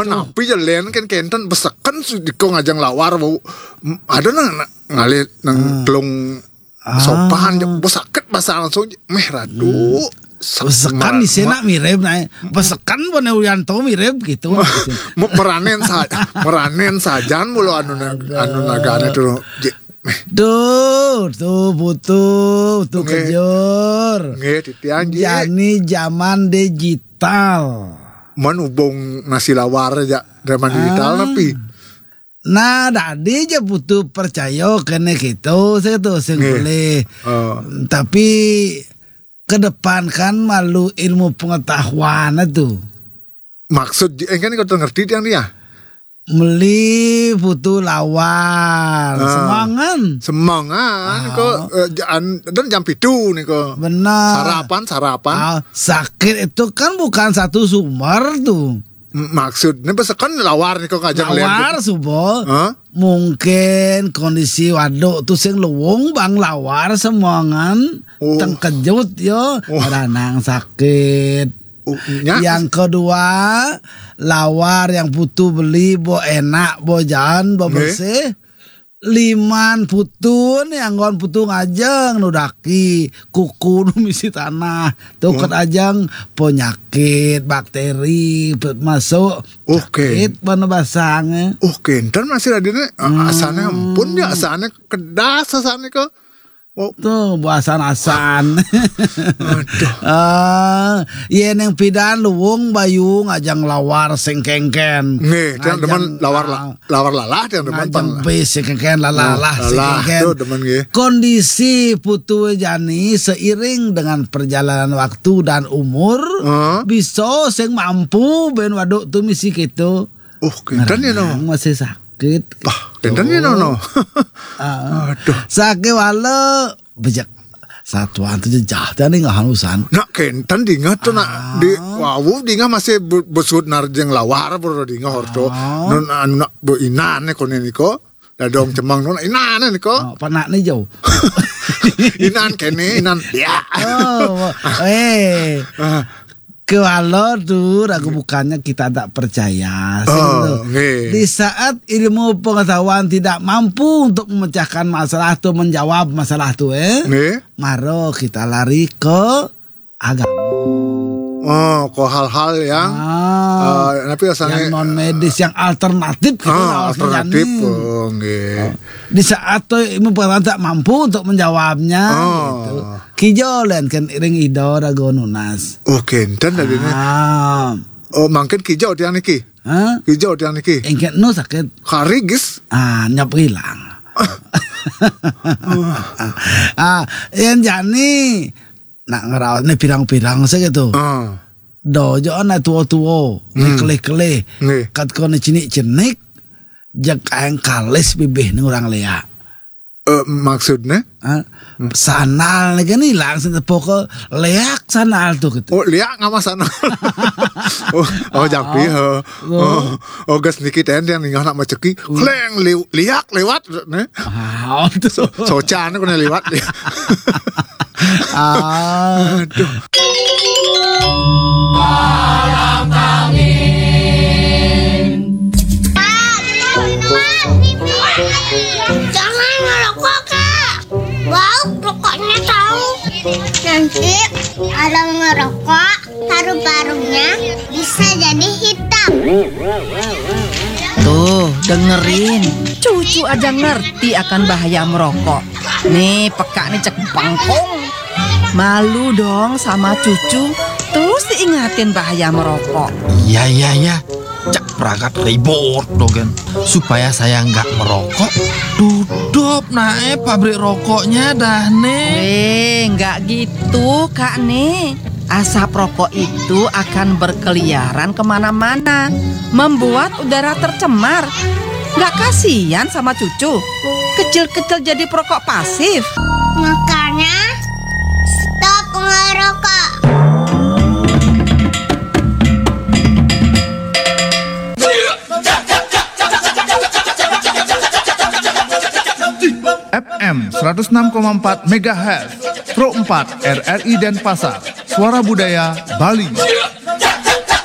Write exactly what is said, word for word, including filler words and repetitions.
Napi ja lén kén kénten beseken si diko ngajeng lawar bau. Ada nang ngalih nang telung sopan ja, bau sakit basa langsung. Méh radu. Besekan di sana mirip nah. Besekan Bone Uyanto mirip gitu. Meranen sajan mulu anu anu nagane tuh. Duh, tuh butuh, tuh kejur. Nggih, titiang, Ji. Jani zaman digital. Man ubung nasi lawar ja zaman digital tapi. Nah, dadi ja butuh percaya kene gitu, saya tuh sing boleh. Tapi kedepankan malu ilmu pengetahuan tuh. Maksud, eh, kan kau ngerti tiang dia? Meli putu lawar, semangan. Semangan, kok, eh, dan jam pitu nih kok. Benar. Sarapan, sarapan. Ah, sakit itu kan bukan satu sumber tuh. M- Maksudnya pesekan lawar nih kok ngajak lawar subo. Hah? Mungkin kondisi waduk tuh sing luwung bang lawar semangan. Tengkejut yo, ranang sakit. Yang kedua, lawar yang putu beli bo enak, bo jan, bo bersih. Liman putu ni anggon putu ngajeng nudaki kuku nu misi tanah. Tuket ajeng penyakit bakteri pe- masuk. Oke. Sakit mana basangnya. Oke, ntar masih ada nih. Asane ampun ya, asane kedas asane ke. Oh. Tuh, buasan-asan. Aduh. Ah, yen yang pidan luwung bayu ngajang lawar sing kengken. Nggih, tiang demen lawar la- lawar lalah tiang demen. Ngajang pang- bis sing kengken lalah, lalah sing kengken. Tuh demen nggih. Kondisi putu jani seiring dengan perjalanan waktu dan umur bisa sing mampu ben waduk tuh misi gitu. Oh, kenten ya no. Masih sakit. Bah, kenten ya no. Aduh. Sakit wala bejak satuan tu jejah tadi ngahanusan. Nak kenten dingah tu nak di wawu dingah masih besut narjeng lawar baru dingah orto. Nun anu nak beinan ne kone niko. Dadong cemang nun inan ne niko. Oh, panak ni jauh. Inan kene inan ya. Oh, eh. Kewala tu ragu bukannya kita tak percaya. Sing tu. Di saat ilmu pengetahuan tidak mampu untuk memecahkan masalah tu, menjawab masalah tu eh. Maro kita lari ke agama. Oh, ke hal-hal yang ah, tapi asalnya yang non medis, yang alternatif gitu ah, alternatif. Oh, nggih. Di saat tu ilmu pengetahuan tak mampu untuk menjawabnya gitu. Kijo len kan ring ido rago nunas. Oh, kenten tadi ni. Ah. Oh, mangkin kijo tiang niki. Hah? Kijo tiang niki. Engket nu sakit. Karigis. Ah, nyap hilang. Ah, yang jani nak ngerawat ni pirang-pirang saja tu. Ah. Do jo anak tua-tua, hmm. Kelih-kelih. Kat kau ni cinik-cinik, jak aeng kalis bibih ni orang leak. Eh, maksudnya? Sandal ni kan hilang sing tepuk ke leak sandal tu gitu. Oh, leak ngama sandal. Oh, oh, jampi ha. Oh, oh, gas niki ten yang ningah nak maceki. Kleng liak lewat ne. Ah, tu. Soca ni kena lewat. Aduh. Jangan ngerokok, Kak. Bau rokoknya tahu. Nanti kalau ngerokok, paru-parunya bisa jadi hitam. Tuh, dengerin. Cucu aja ngerti akan bahaya merokok. Nih, peka nih cek bangkong. Malu dong sama cucu. Terus diingatin bahaya merokok. Iya, iya, iya. Cak pragat ribut dogen supaya saya nggak merokok. Tutup nae pabrik rokoknya dah nih. Eh, nggak gitu, Kak nih. Asap rokok itu akan berkeliaran kemana-mana, membuat udara tercemar. Nggak kasihan sama cucu? Kecil-kecil jadi perokok pasif. Makanya stop ngerokok. F M seratus enam koma empat megahertz, Pro empat R R I Denpasar, Suara Budaya Bali.